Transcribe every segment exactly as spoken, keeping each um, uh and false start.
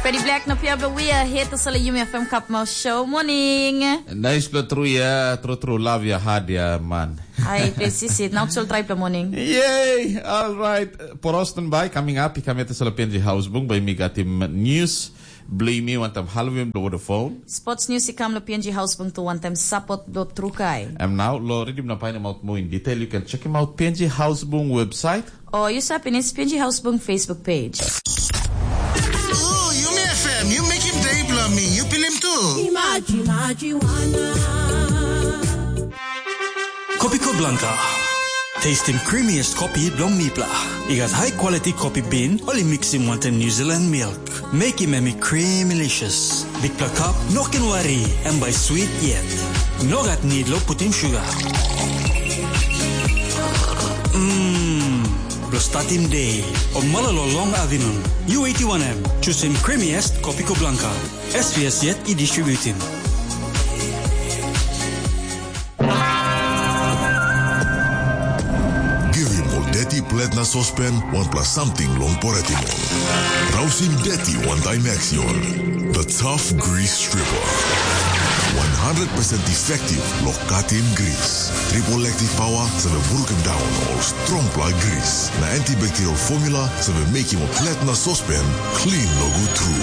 Di Black na Pia Beware, hate to sala Yumi F M Cup Mouth Show. Morning. Nice pla tru ya, tru tru love ya hard ya man. Ai, pe sisit, na utsol try pla morning. Yay, all right. Porostan bai coming up, i kame to sala P N G House Bung by me got him news. Blame me one time halvim the phone. Sports news i kam lo P N G House Bung to one time support do trukai. And now, lo redim na pain out more in detail, you can check him out P N G House Bung website. O yu save pinis P N G House Bung Facebook page. Ooh, Yumi F M, you make him day blo me. You feel him too. Imaji, imaji, wana. Kopiko Blanca. Tastim creamiest kopi bilong mipela. I gat high quality kopi bean, ol i mixim wantaim New Zealand milk. Mekim em i creamylicious. Bikpela cup, no ken wari, em bai sweet yet. No gat need lo putim sugar. Mmm, lo statim day, o mala lo long afternoon. U eighty-one M, choosing creamiest Kopiko Blanca. S P S yet i distributim. Givim ol deti plet na sospen wanpela samting long poretim ol. Rausim deti wantaim Axion. The Tough Grease Stripper. One hundred percent effective lo katim gris. Triple active power save brukim daun ol strongpela gris. Na antibacterial formula save mekim ol plet na sospen clean nogut tru.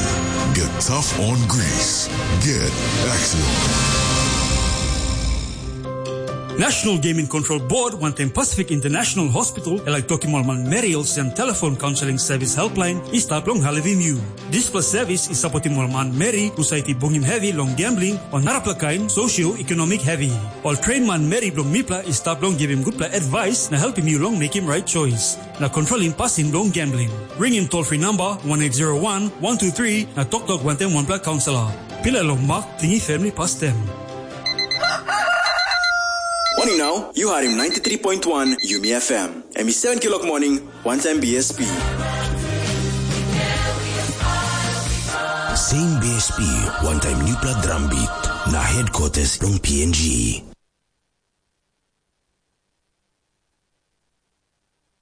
Get tough on grease. Get Axion. National Gaming Control Board wantaim Pacific International Hospital e laik tokim ol manmeri olsem telefon kaunseling sevis helpline i stap long helpim yu. Dispela sevis i sapotim ol manmeri husat i bungim hevi long gambling o narapela kain sosioekonomik hevi. Ol tren manmeri bilong mipela i stap long givim gutpela advice na helpim yu long mekim right choice na kontrolim pasin bilong gambling. Ringim toll free number one eight zero one, one two three na toktok wantaim wanpela kaunselor. Pilai long mak tingi family pastem. Morning now, you are in ninety-three point one Yumi F M. Em i seven kilok morning, one time B S P. Same B S P, one time newpela drum beat. Na headquarters long P N G.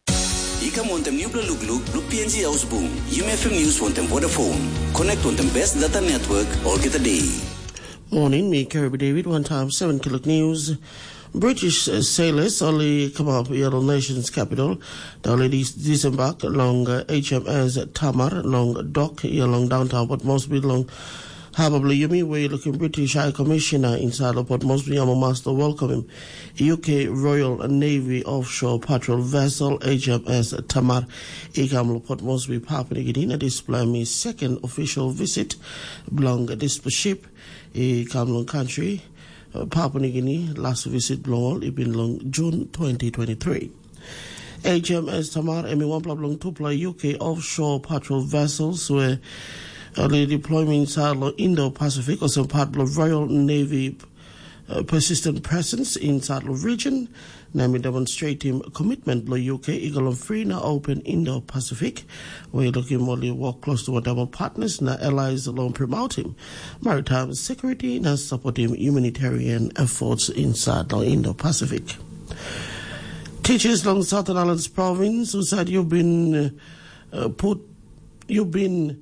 I kam wantaim nupela lukluk blo P N G Haus Bung, Yumi F M News wantaim Vodafone. Connect wantaim best data network olgeta day. Morning, mi Kirby David, one time seven kilok news. British uh, sailors only come up here on nation's capital. The ladies disembark along uh, H M S Tamar, long dock here along downtown, but mostly long Harbor blo Yumi, where looking British High Commissioner inside of Port Moresby, Amo Master welcome him. U K Royal Navy offshore patrol vessel H M S Tamar i kam lo Port Moresby, Papua New Guinea. Na dispela mi second official visit bilong dispela ship i kam long country uh, Papua New Guinea. Last visit bilong ol i bin long June twenty twenty-three. H M S Tamar em i wanpela bilong tupela U K offshore patrol vessels we ol i deployim inside lo Indo-Pacific olsem part bilong Royal Navy uh, persistent presence inside lo region. Na em i demonstratim commitment bilong U K i go long free na open Indo-Pacific, we i lukim ol i work close to whatever partners na allies long promoting maritime security na supporting humanitarian efforts inside lo Indo-Pacific. Teachers long Southern Islands Province who said you've been uh, put you've been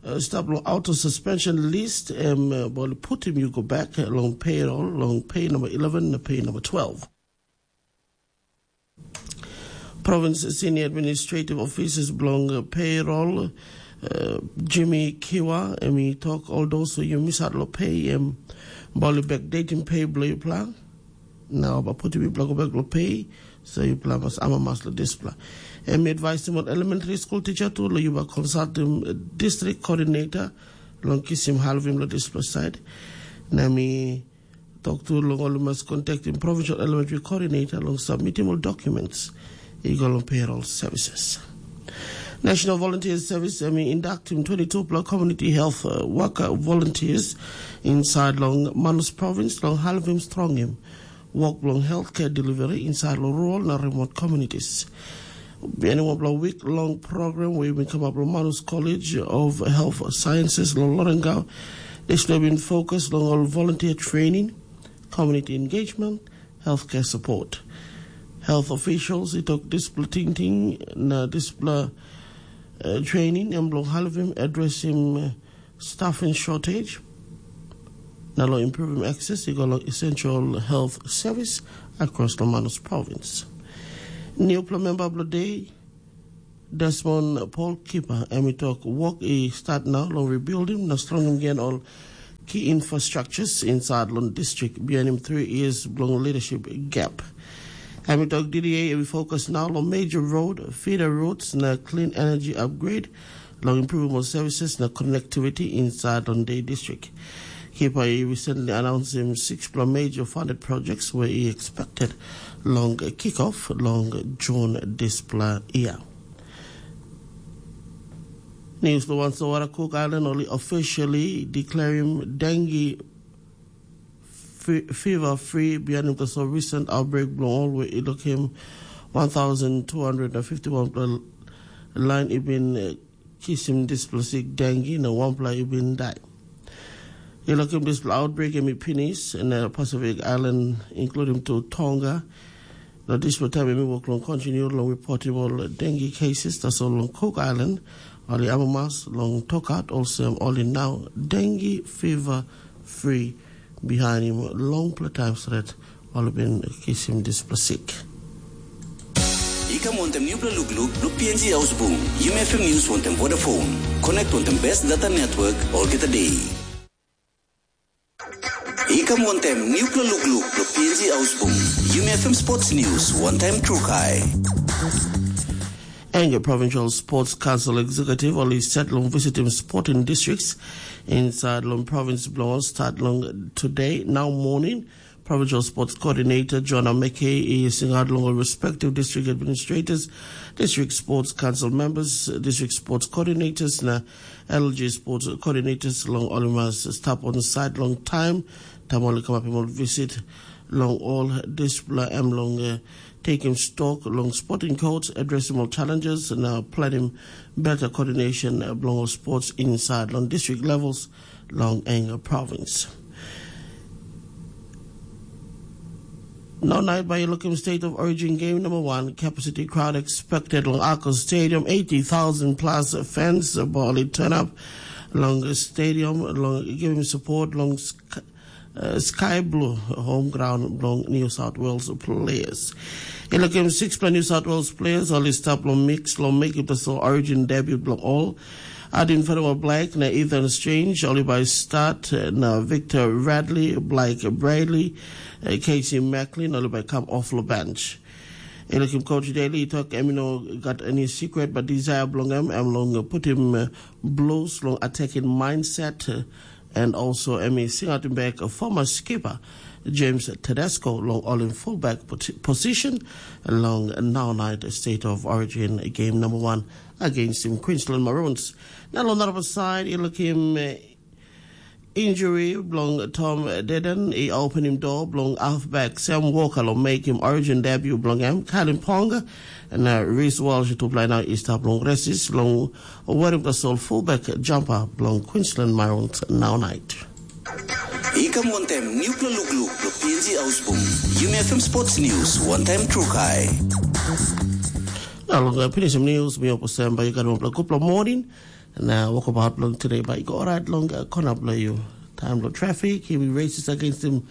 uh, stop long auto suspension list em uh, bol putim you go back uh, long payroll long pay number eleven na pay number twelve. Province Senior Administrative Officers belong uh, payroll uh, Jimmy Kiwa em he talk all those who you miss out lo pay em bol backdating pay blo you plan. Na ol bai putim yupela go bek long pe, so yupela mas amamas long dispela. Em i advaisim ol elementary school teacher tu long yu bai consultim district coordinator long kisim halvim long dispela side. Na mi tok tu long ol mas contactim provincial elementary coordinator long submitim ol documents i go long payroll services. National Volunteer Service em i inductim twenty-two pla community health uh, worker volunteers inside long Manus province long halvim strongim work bilong healthcare delivery inside long rural na remote communities. Bihain wanpela wik long program we bin kamap long Manus College of Health Sciences long Lorengau, dispela bin fokus long ol volunteer training, community engagement, healthcare support. Health officials i tok dispela tingting na dispela uh, training em bilong halivim adresim uh, staffing shortage, na long improving access i go long essential health service across long Manus province. Newpela member bilong day, Desmond Paul Kipa, em i tok wok i start nau long rebuilding na strongim gen ol key infrastructures inside long district beyond him three years bilong leadership gap. Em i tok D D A i focus nau long major road, feeder roads na clean energy upgrade, long improving services na connectivity inside long day district. Kipa i recently announcing six major funded projects where he expected long kick-off long June dispela year. News the ones over Cook Island only officially declaring dengue fe- fever free behind the so recent outbreak bilong ol where it took him one thousand two hundred and fifty-one line even uh, kisim displasik dengue na wanpela i bin dai. I lukim dispela outbreak em i pinis na Pacific Island, including to Tonga. Na dispela taim em i wok long continue long reportable dengue cases tasol long Cook Island, ol i amamas long tokat olsem ol i nau dengue fever free behind him longpela taim stret ol i bin kisim dispela sik. I kam wantem nupela lukluk bilong P N G Ausbung. Yumi F M News wantem Vodafone. Connect wantem best data network olgeta day. I kam wantem nupela lukluk bilong P N G Ausbung. Yumi F M Sports News wantaim trukai. Enge Provincial Sports Council Executive ol i set long visitim sporting districts inside long province bilong start long today now morning. Provincial Sports Coordinator John Ameke i singaut long ol respective district administrators, district sports council members, district sports coordinators na L G sports coordinators long ol i mas stap on site long time. Taim ol i kamapim ol visit long ol dispela em long uh, taking stock long sporting codes, addressing all challenges na planning better coordination bilong sports inside long district levels long Enge province. Now night by looking state of origin game number one, capacity crowd expected long Ako Stadium, eighty thousand plus fans ball it turn up long stadium, long giving support long uh, Sky Blue home ground bilong New South Wales players. I lukim sixpela New South Wales players ol i stap long mix long mekim tasol origin debut bilong ol. Adin Fenua Black na Ethan Strange ol i bai start uh, na Victor Radley, Blake Bradley, uh, Casey Macklin ol i bai come off long bench. I lukim coach Daly i tok em i no gat any secret but desire bilong em em long putim uh, Blues long attacking mindset uh, and also em i singautim bek former skipper James Tedesco long ol in fullback position long now night State of Origin game number one against him Queensland Maroons. Na long narapela side i lukim uh, injury bilong Tom Dedan i opening door bilong halfback Sam Walker long make him origin debut bilong em Kalim Ponga na Reece Walsh tupela nau i stap long resis long werim tasol fullback jumper bilong Queensland Maroons now night. I kam wantem nupela lukluk bilong P N G Ausbung. Yumi F M Sports News, wantaim trukai. Na long uh, pinisim news, mi opo sem bai i gat wanpela kupla morning. Na wokabaut bilong today bai i go orait long uh, kona bilong you. Time bilong traffic, he will races against him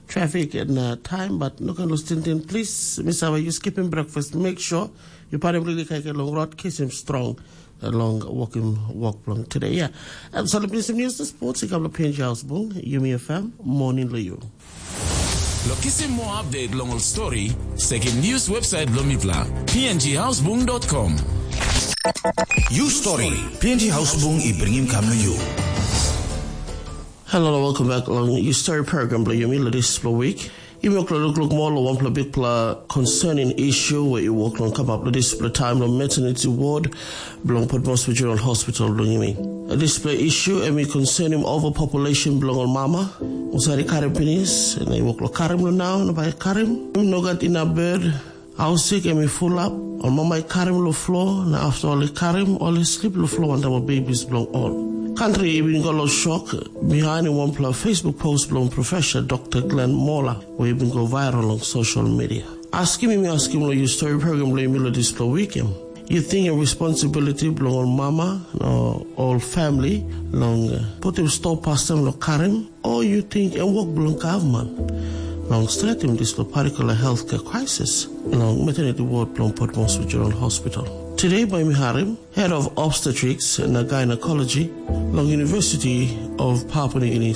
traffic and uh, time, but no can lose tintin. Please, Miss Awa, you skipping breakfast. Make sure you put him really kaikai long road, kiss him strong. Long walking walk long today. Yeah. Um, so let me some news to sports. Ikam lo P N G House Bung, Yumi F M, morning lo you. Lo kisim more update long ol story, sekim news website lo mipla, P N G house bung dot com. You story, P N G house bung i bringim kam lo you. Hello, welcome back long you story program lo Yumi lo this week. Yumi okla lukluk moa long wanpela bikpela concerning issue where i wok long kamap long dispela taim long maternity ward bilong Potmos Regional Hospital bilong yumi. Dispela issue em i concerning overpopulation bilong ol mama. Olsem i karim pinis, na i wok long karim long nau, na bai karim. Em no gat inap bed, hausik em i fulap, ol mama i karim long flo, na afta ol i karim, ol i slip long flo wantaim ol babies bilong ol. Kantri i bin go long shok, bihain wanpela Facebook post bilong Professor Dr. Glenn Moller, where i bin go viral long social media. Askim yumi askim long you story program long yumi long dispela weekend. Yu ting em responsibility bilong ol mama na ol famili long putim stop pastaim long karim, o yu ting em wok bilong gavman long stretim dispela partikula healthcare crisis long maternity ward bilong Port Moresby General Hospital? Today bai mi harim Head of Obstetrics na Gynecology long University of Papua New Guinea